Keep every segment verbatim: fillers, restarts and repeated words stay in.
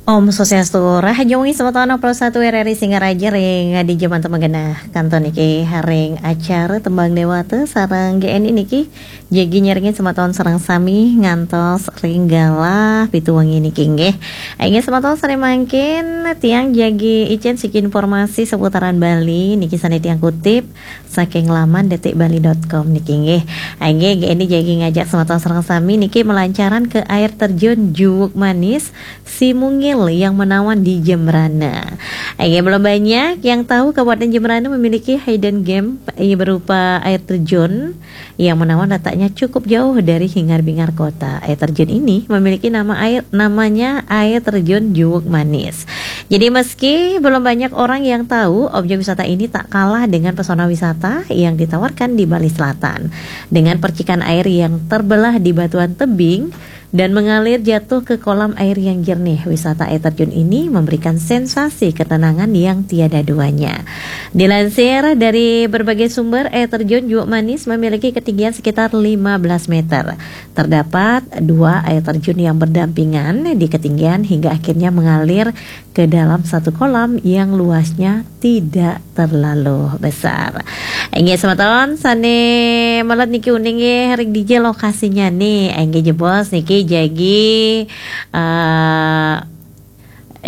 Om Swastiastu, rahajeng wengi semeton, pro satu R R I Singaraja ring di jaman temenggenah. Kantun niki ring acara Tembang Dewata sareng G N I niki. Jagi nyarengin semeton sareng sami ngantos ring galah pitu wengi niki nggih. Inggih semeton, sane mangkin tiang jagi icen siki informasi seputaran Bali niki sane tiang kutip saking laman detik bali dot com niki nggih. Inggih, G N I jagi ngajak semeton sareng sami niki melancaran ke air terjun Juwuk Manis Simungil yang menawan di Jembrana. Inggih, belum banyak yang tahu Kabupaten Jembrana memiliki hidden gem, eh, berupa air terjun yang menawan letaknya cukup jauh dari hingar-bingar kota. Air terjun ini memiliki nama air, namanya Air Terjun Juwuk Manis. Jadi meski belum banyak orang yang tahu, objek wisata ini tak kalah dengan pesona wisata yang ditawarkan di Bali Selatan. Dengan percikan air yang terbelah di batuan tebing dan mengalir jatuh ke kolam air yang jernih, wisata air terjun ini memberikan sensasi ketenangan yang tiada duanya. Dilansir dari berbagai sumber, air terjun Juwuk Manis memiliki ketinggian sekitar lima belas meter. Terdapat dua air terjun yang berdampingan di ketinggian hingga akhirnya mengalir ke dalam satu kolam yang luasnya tidak terlalu besar. Inggih semeton sane melet niki uning nggih ring dija lokasinyane. Inggih jebos niki jagi, eh,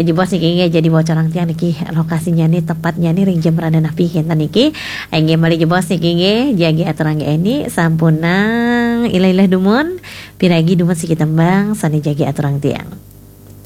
jebos niki nggih jagi bocorang tiang niki lokasinyane, tepatnyane ring Jembrana napi kenten niki. Inggih malih jebos niki nggih jagi aturang G N I sampunang ilah-ilah dumun, piragi dumun siki tembang sane jagi aturang tiang.